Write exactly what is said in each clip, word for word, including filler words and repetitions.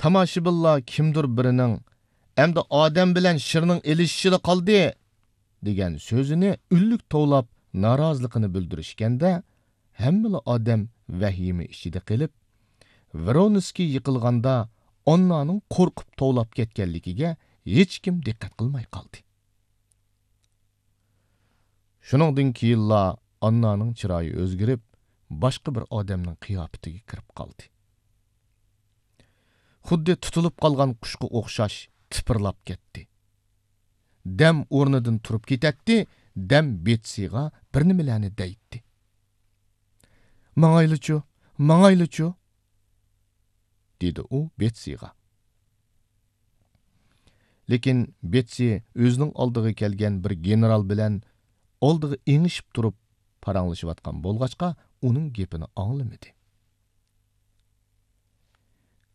تاماشىبىنلار كىمدۇر بىرىنىڭ، «ئەمدى ئادەم بىلەن شىرنىڭ ئېلىشىشىلا قالدى» دېگەن سۆزىنى ئۈنلۈك توۋلاپ نارازىلىقىنى بىلدۈرۈشكەندە، ھەممىلا ئادەم ۋەھىمە ئىچىدە قېلىپ، ۋرونسكىي يىقىلغاندا ئاننانىڭ قورقۇپ توۋلاپ كەتكەنلىكىگە ھېچكىم دىققەت قىلماي قالدى. شۇنىڭدىن كېيىنلا ئاننانىڭ چىرايى ئۆزگىرىپ، باشقا بىر ئادەمنىڭ قىياپىتىگە كىرىپ قالدى. خۇددى تۇتۇلۇپ قالغان قۇشقا ئوخشاش تىپىرلاپ كەتتى. دەم ئورنىدىن تۇرۇپ كېتەتتى، دەم بېتسىغا بىر نېمىلەرنى دەيتتى. «ماڭايلىچۇ، ماڭايلىچۇ!» دېدى ئۇ بېتسىغا. لېكىن بېتسى ئۆزىنىڭ ئالدىغا كەلگەن بىر گېنېرال بىلەن ئالدىغا ئېڭىشىپ تۇرۇپ پاراڭلىشىۋاتقان بولغاچقا، ئۇنىڭ گېپىنى ئاڭلىمىدى.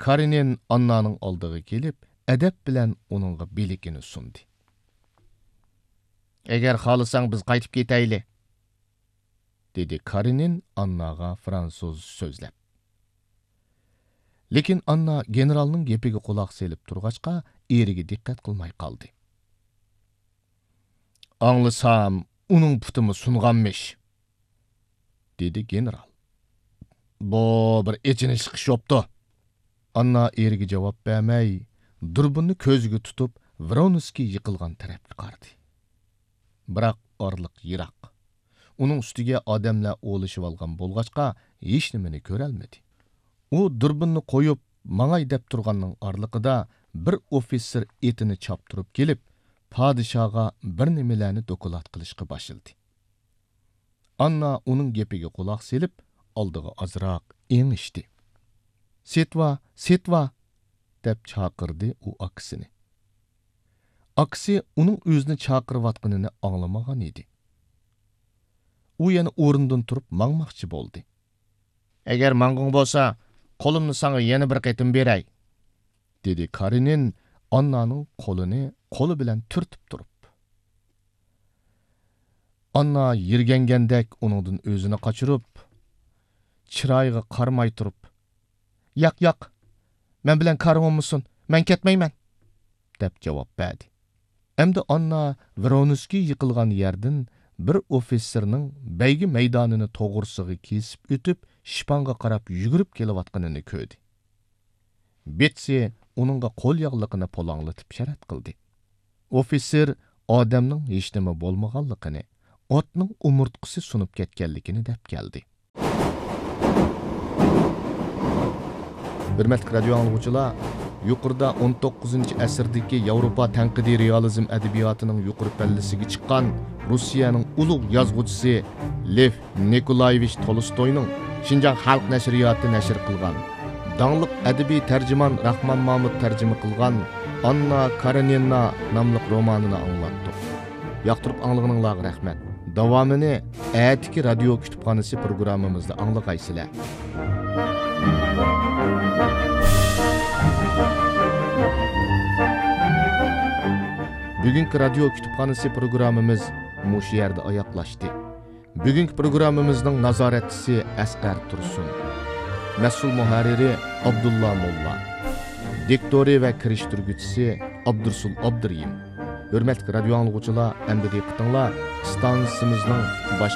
كارېنىن ئاننانىڭ ئالدىغا كېلىپ، ئەدەپ بىلەن ئۇنىڭغا بىلىكىنى سۇندى. «ئەگەر خالىساڭ، بىز قايتىپ كېتەيلى»، دېدى كارېنىن ئانناغا فرانسۇزچە سۆزلەپ. لېكىن ئاننا گېنېرالنىڭ گېپىگە قۇلاق سېلىپ تۇرغاچقا، ئېرىگە دىققەت قىلماي قالدى. «ئاڭلىسام، ئۇنىڭ پۇتىمۇ سۇنغانمىش»، دېدى گېنېرال. «بۇ بىر ئېچىنىشلىق ئىش بوپتۇ.» ئاننا ئېرىگە جاۋاب بەرمەي، دۇربۇننى كۆزىگە تۇتۇپ، ۋرونسكىي يىقىلغان تەرەپكە قارىدى. بىراق ئارىلىق يىراق. ئۇنىڭ ئۈستىگە ئادەملەر ئولىشىۋالغان بولغاچقا، ھېچنېمىنى كۆرەلمىدى. ئۇ دۇربۇننى قويۇپ، ماڭاي دەپ تۇرغاننىڭ ئارىلىقىدا بىر ئوفىتسېر ئېتىنى چاپتۇرۇپ كېلىپ، پادىشاھقا بىر نېمىلەرنى دوكلات قىلىشقا باشلىدى. ئاننا ئۇنىڭ گېپىگە قۇلاق سېلىپ، ئالدىغا ئازراق ئېڭىشتى. «سېتىۋا، سېتىۋا!» دەپ چاقىردى ئۇ ئاكىسىنى. ئاكىسى ئۇنىڭ ئۆزىنى چاقىرىۋاتقىنىنى ئاڭلىمىغان ئىدى. ئۇ يەنە ئورنىدىن تۇرۇپ ماڭماقچى بولدى. «ئەگەر ماڭغۇڭ بولسا، قولۇمنى ساڭا يەنە بىر قېتىم بېرەي»، دېدى كارېنىن ئاننانىڭ قولىنى قولى بىلەن تۈرتۈپ تۇرۇپ. ئاننا يىرگەنگەندەك ئۇنىڭدىن ئۆزىنى قاچۇرۇپ، چىرايىغا قارىماي تۇرۇپ، «ياق، ياق، مەن بىلەن كارىڭ بولمىسۇن، مەن كەتمەيمەن» دەپ جاۋاب بەردى. ئەمدى ئاننا ۋرونسكىي يىقىلغان يەردىن بىر ئوفىتسېرنىڭ بەيگە مەيدانىنى توغرىسىغا كېسىپ ئۆتۈپ، شىپاڭغا قاراپ يۈگۈرۈپ كېلىۋاتقىنىنى كۆردى. بېتسى ئۇنىڭغا قول ياغلىقىنى پۇلاڭلىتىپ شەرەت قىلدى. ئوفىتسېر ئادەمنىڭ ھېچنېمە بولمىغانلىقىنى، ئاتنىڭ ئومۇرتقىسى سۇنۇپ كەتكەنلىكىنى دەپ كەلدى. ھۆرمەتلىك رادىيو ئاڭلىغۇچىلار، يۇقىرىدا ئون توققۇزىنچى ئەسىردىكى ياۋروپا تەنقىدىي رېئالىزم ئەدەبىياتىنىڭ يۇقىرى پەللىسىگە چىققان روسىيەنىڭ ئۇلۇغ يازغۇچىسى لېف نىكولايېۋىچ تولستوينىڭ شىنجاڭ خەلق نەشرىياتى نەشر قىلغان، داڭلىق ئەدەبىي تەرجىمان راخمان مامۇت تەرجىمە قىلغان ئاننا كارېنىنا ناملىق رومانىنى ئاڭلاتتۇق. ياقتۇرۇپ ئاڭلىغىنىڭلارغا رەھمەت. داۋامىنى ئەتىكى رادىيو كۇتۇپخانىسى پروگراممىمىزدا ئاڭلىغايسىلەر. بۈگۈنكى رادىيو كۇتۇپخانىسى پروگراممىمىز مۇشۇ يەردە ئاياغلاشتى. بۈگۈنكى پروگراممىمىزنىڭ نازارەتچىسى ئەسقەر تۇرسۇن. مەسئۇل مۇھەررىرى ئابدۇللا موللا. دىكتورى ۋە كىرىشتۈرگۈچىسى ئابدۇرسۇل ئابدۇرېھىم. ھۆرمەتلىك رادىيو ئاڭلىغۇچىلار، ئەمدى دىققىتىڭلار ئىستانسىمىزنىڭ باش